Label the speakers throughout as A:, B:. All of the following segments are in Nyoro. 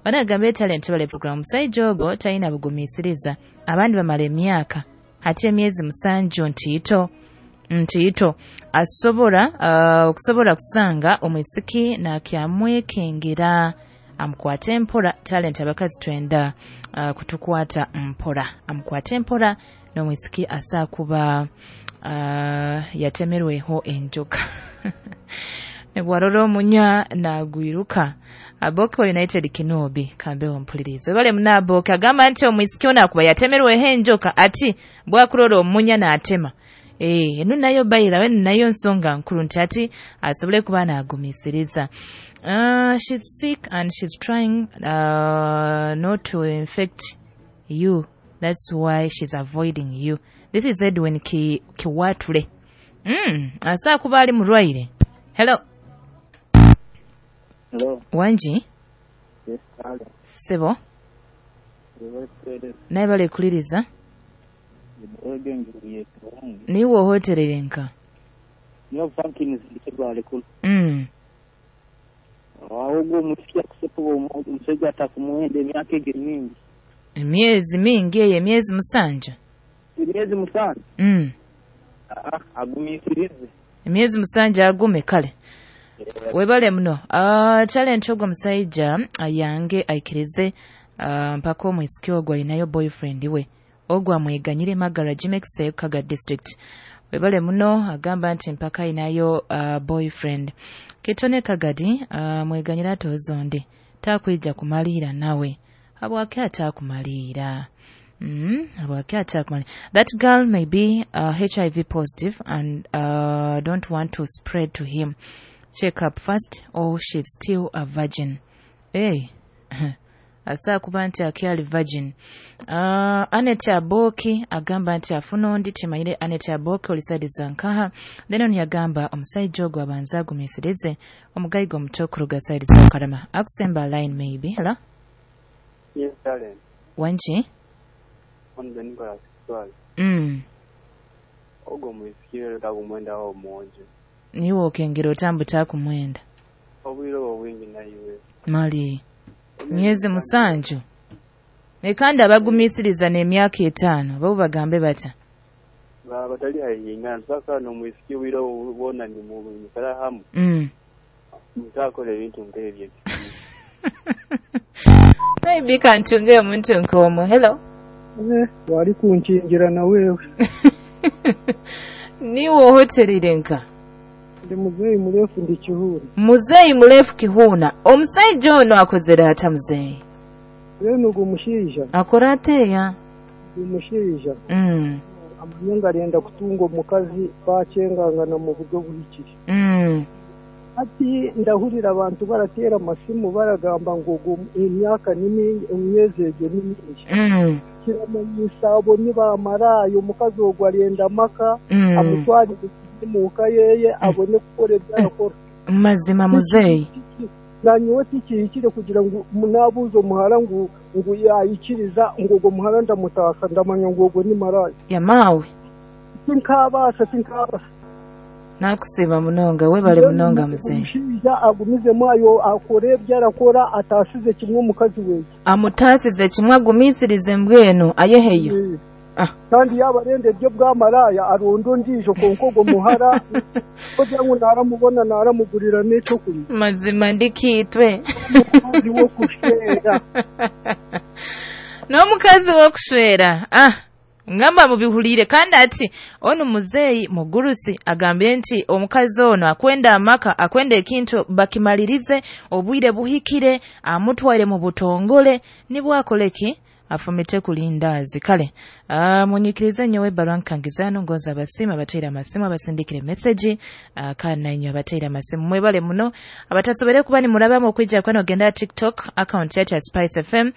A: Banagamba talent bale program omusajja ogwo talina bugumiisiriza, abandi bamala emyaka, ate emyezi 7 ntiito asobola okusobola kusanga omwisiki nakyamwekengera amukwate mpora. Talent abakazi twenda kutukwata mpora, amukwate mpora n'omwisiki asakuba yatemerweho enjoka nebwarora omunya nagwiruka. Aboke wa United Kinobi kambeho mpulirize bale munaboke agamba nti omwisiki ono akuba yatemerweho enjoka ati bwakurora omunya n'atema. Enu nayo bayira we nayo nsonga nkuru nti ati asobole kuba nagumisiriza. She's sick and she's trying not to infect you, that's why she's avoiding you. This is Edwin Kiwatule. Asa kuba ali mulwaire. Hello.
B: Hello.
A: Wanji?
B: Yes, hello.
A: Sebo. Naye bale kuliriza. Niwo hotelere nka.
B: Niwo banking zikibale kulu. Awo musiki akusepo omusajja atakumuwenda emyaka egyo mingi.
A: Emyezi mingi eyo emyezi 7.
B: Emyezi 7. Agumiisirize.
A: Emyezi 7 agume kale. Webale muno. Talent ogwo musajja ayange aikirize mpaka omwisiki ogwo alinayo boyfriend we. Ogwo amweganyire Magara Jimex Kaga district. Webale muno agamba nti mpaka alinayo boyfriend. Kitone Kagadi mweganyira tozondi takwija kumalira nawe. Habwaki atakumalira? Habwaki atakumalira? That girl may be HIV positive and don't want to spread to him. Check up first or she's still a virgin. Hey. Asa kuba nti akyali virgin. Anet Aboki agamba nti afuna ndi timanyire Anet Aboki olisaidiza nkaha. Then ono yagamba omusajja ogwo abanza agumiisirize omugayiga omuto kuruga saidi za Karama. Akusemba line maybe. Hello?
B: Yes, darling.
A: Wanji?
B: Onze Nicholas Swali. Ogwo mwisikire takumwenda wa omwojo.
A: Niwe okengera otambuta kumwenda.
B: Obwire obwingi nayiwe.
A: Mali. Myezi 7. Ekandi abagumisiriza n'emyaka 5 bo bagambe bata.
B: Batali hayingana sasa no mwisiki wiro ubona ni mu mikara hamu. Mutakole ebintu nk'ebyo.
A: Maybe kantunge omuntu nkomo. Hello.
C: Wali kunkingira na wewe.
A: Niwo hotelire nka.
C: Ndi muzeeyi murefu ndi Kihuna.
A: Muzeeyi murefu Kihuna. Omusajja ono akozera ata muzeeyi?
C: Rero ogwo mushaija.
A: Akora ateya?
C: Omushaija. Amanye nga arenda kutunga omukazi bakyengangana mu buryo buhikire. Ati ndahurira abantu baratera amasimu baragamba ngo emyaka ni mingi, emyezi egyo ni mingi. Kiramanyisa abo nibamaraayo omukazi ogwo arenda amaka amutwarire muka yeye abone kukora ebyo arakora.
A: Mazima muzeeyi.
C: Nanyowe tikihikire kugira ngu munabuuza omuhara ngu yayikiriza ngu ogwo muhara ndamutaka ndamanya ngu ogwo ni maraya.
A: Yamaawe.
C: Tinkabaasa.
A: Nakusiba munonga webale munonga muzeeyi.
C: Omushaija agumizemu ayo akore ebyo arakora ataasize kimwe omukazi weye.
A: Amutaasize kimwe agumisirize mbwenu ayeheyo.
C: Kandi yaba arenda ebyo bwamaraya aronda ondiijo konka ogwo muhara kugira ngu naramubona naramugurira n'ekyokurya.
A: Mazima ndikiitwe.
C: Omukazi w'okushwera.
A: N'omukazi w'okushwera. Ngamba mubihulire kandi ati ono muzeeyi mugurusi agambye nti omukazi ono akwenda amaka akwenda ekintu bakimalirize obwire buhikire amutwaire mu butongole nibwakoleki afumite kulindazi. Kale munyikirize nyowe ebbaluwa nkangizano ngonza abasiima abateera amasimu abasindikire message kandi nainywe abateera amasimu mwebale muno. Abatasobere kuba nimurabamu okwijja kwano genda TikTok account yacu ya Spice FM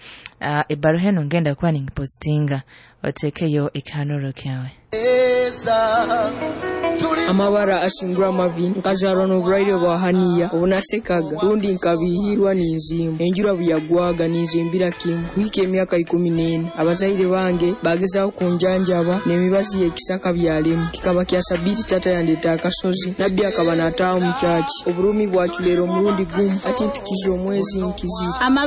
A: ebbaluwa eno ngenda kuba ningipostinga otekeyo ekihanuro kyawe.
D: Amabara ashingura amavi nkajarwa n'oburwaire bwa haniya obunasekaga rundi nkabihirwa n'enzimba enjura buyagwaga ninzimbira kimu kuhika emyaka 14 abazaire bange bagezaho kunjanjaba n'emibazi y'ekisaka byalemu kikaba kya sabiti tata yandeta akasozi nabbi akaba nataaha omu kyaki oburumi bwaculera omurundi gumu ati mpikize omwezi nkizire.